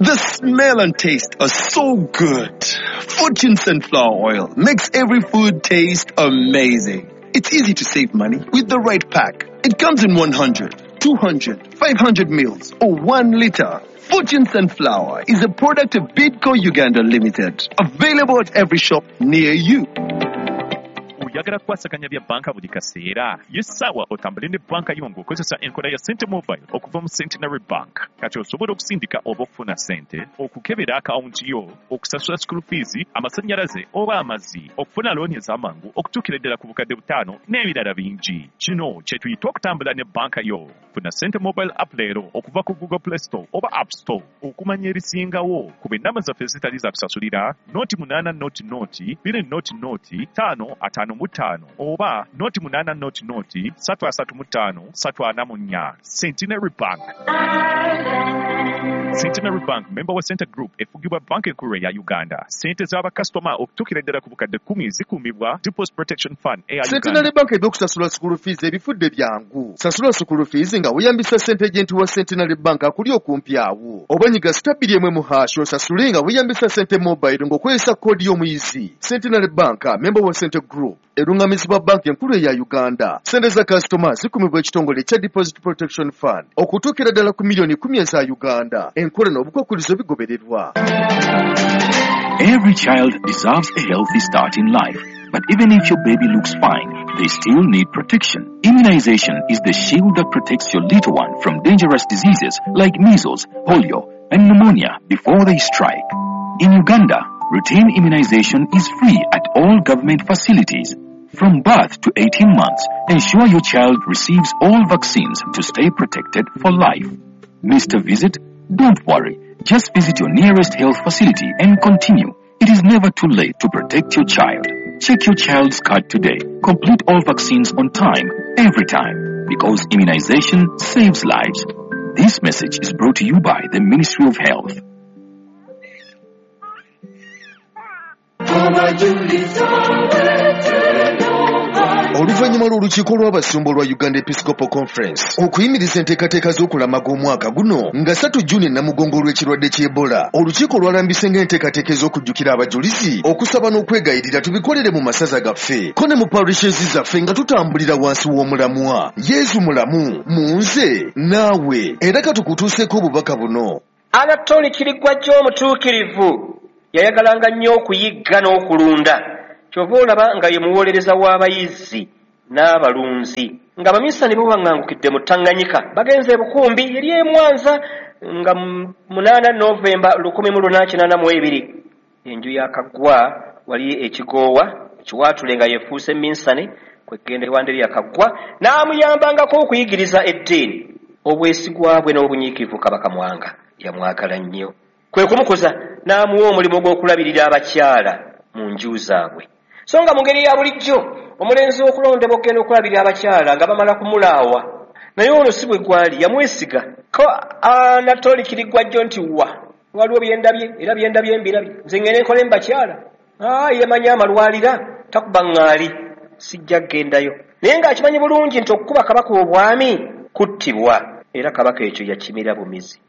The smell and taste are so good. Fortune Sunflower Oil makes every food taste amazing. It's easy to save money with the right pack. It comes in 100, 200, 500 mils or 1 liter. Fortune Sunflower is a product of Bidco Uganda Limited. Available at every shop near you. Oyagala kukwasaganya bya banka buli kaseera? Y'essaawa otambule ne banka yo ng'okozesa enkola ya Sente Mobile okuva mu Centenary Bank. Kati osobola okusindika oba okufuna ssente, okukebera akawunti yo, okusasula school fees, amasannyalaze oba amazzi, okufuna looni ez'amangu okutuukira ddala ku 5,000 n'ebirala bingi. Kino kye tuyita okutambula ne banka yo. Funa Sente Mobile app leero okuva ku Google Play Store oba App Store. Okumanya ebisingawo ku ennamba zaffe ezitali za kusasulira 08 0 0 2 0 0 5 55 oba 08 0 0 3 35 344. Centenary Bank. Centenary Bank, member wa Center Group, efugibwa Banka Enkulu ya Uganda. Ssente z'abakasitoma okutuukira ddala ku 10,000 zikuumibwa Deposit Protection Fund eya Uganda. Centenary Bank ebyokusasula school fees ebifudde byangu. Sasula school fees nga weeyambisa ssente agent wa Centenary Bank akuli okumpi awo. Oba nyiga *1 # osasule nga weeyambisa Sente Mobile ng'okozesa koodi y'omuyizi. Centenary Bank, member wa Center Group, erungamizibwa Banka Enkulu eya Uganda. Ssente za kasitoma zikuumibwa ekitongole ekya Deposit Protection Fund okutuukira ddala ku miliyoni 10 eza Uganda. Enkola n'obukwakkulizo bigobererwa. Every child deserves a healthy start in life. But even if your baby looks fine, they still need protection. Immunization is the shield that protects your little one from dangerous diseases like measles, polio, and pneumonia before they strike. In Uganda, routine immunization is free at all government facilities. From birth to 18 months, ensure your child receives all vaccines to stay protected for life. Missed a visit? Don't worry. Just visit your nearest health facility and continue. It is never too late to protect your child. Check your child's card today. Complete all vaccines on time, every time, because immunization saves lives. This message is brought to you by the Ministry of Health. Oluvannyuma lw'olukiiko lw'abasumba olwa Uganda Episcopal Conference okuyimiriza enteekateeka z'okulamaga omwaka guno nga 3 Juni Namugongo olw'ekirwadde ky'Ebola, olukiiko lwalambise ng'enteekateeka ez'okujjukira abajulizi, okusaba n'okwegayirira tubikolere mu masaza gaffe ko ne mu parishes zaffe nga tutambulira wansi w'omulamwa Yezu mulamu mu nze naawe. Era katukutuuseeko obubaka buno. Anatoli Kiriggwajjo omutuukirivu yayagalanga nnyo okuyigga n'okulunda, kyova olaba nga ye muwolereza w'abayizzi n'abalunzi. Nga abaminsani bo baŋŋangukidde mu Tanganyika, bagenze e Bukumbi eri e Mwanza nga 8 Novemba 1882. Enju ya Kaggwa wali ekigoowa ekiwaatule nga yefuuse minsani, kwegenda ewanderi ya Kaggwa n'amuyambangako okuyigiriza eddiini. Obwesigwa bwe n'obunyiikivu Kabaka Mwanga yamwagala nnyo, kwe kumukuza n'amuwa omulimu gw'okulabirira abakyala mu nju zaabwe. So nga mu ngeri ya bulijjo omulenzi okulondebwa okugenda okulabirira abakyala nga bamala kumulaawa, naye ono si bwe gwali, yamwesiga ko Anatoli Kiriggwajjo nti wa waliwo byendabye era byendabye mbirabye, nze ngende nkole mu bakyala. Yemanyi amalwalira takuba ŋŋaali, sijja kgendayo. Naye ng'akimanyi bulungi nti okukuba kabaka obwami kuttibwa, era kabaka ekyo yakimira bumizi.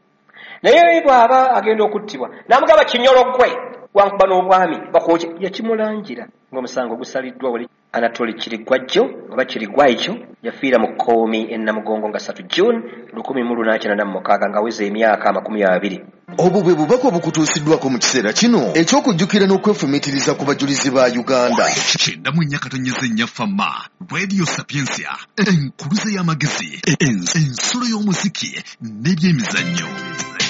Naye bw'aba agenda okuttibwa n'amugamba kinyolo ggwe wankuba n'obwami bakwoke, yakimulangira ng'omusango gusaliddwa wali. Anatoli Kiriggwajjo oba Kiriggwajjo yafiira mu Kkoomi e Namugongo nga 3 June 1886 ng'aweza emyaka 20. Obwo bwe bubaka obukutuusiddwako mu kiseera kino eky'okujjukira n'okwefumiitiriza ku bajulizi ba Uganda. 94.4 Fama Radio Sapientia, enkuluze y'amagezi, ensulo y'omuziki n'ebyemizannyo.